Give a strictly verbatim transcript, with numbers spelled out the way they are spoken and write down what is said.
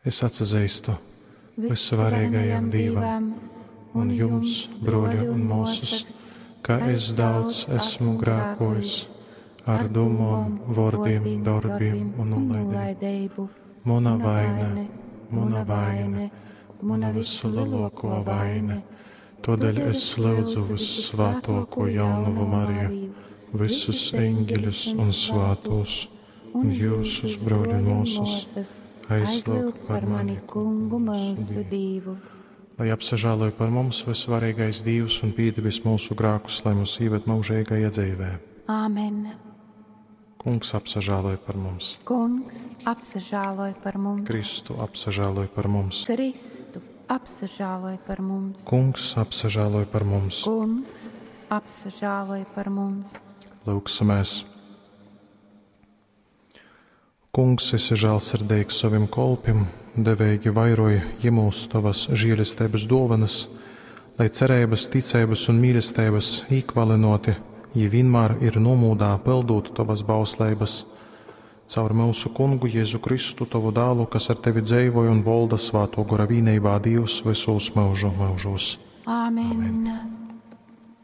Es atsazeistu Vysvareigajam Dīvam un jums, bruoļi un muosys, ka es daudz esmu grākojis ar dūmom, vuordim, dorbim un nūlaideibu. Muna vaine, muna vaine, muna vysleluokuo vaine. Tuodeļ es lyudzu Vyssvātuokū Jaunovu Mariju, vysus eņgeļus un svātūs, un jyusus, bruoļi un muosys, aizlyugt par mani Kungu mūsu Dīvu. Lai apsažāloj par mums vysvareigais Dīvs un pīdevis mūsu grākus, lai mūs ieved mūžīgajā dzīvē. Āmen. Kungs apsažāloj par mums. Kungs apsažāloj par mums. Kristu apsažāloj par mums. Kristu apsažāloj par mums. Kungs apsažāloj par mums. Kungs apsažāloj par mums. Lūgsimies! Kungs, esi žēlsirdīgs sovim kolpim, deveigi vairoj jimūs tovas žēlestības dovanas, lai cerības, ticeibas un mīlestības īkvalinoti, jī vienmēr ir nomūdā pildūt tovas bausleibas. Caur mūsu kungu Jēzu Kristu, tovu dālu, kas ar tevi dzeivoja un volda svāto gora vīneibā Dīvs visūs mūžu mūžos. Āmen. Amen.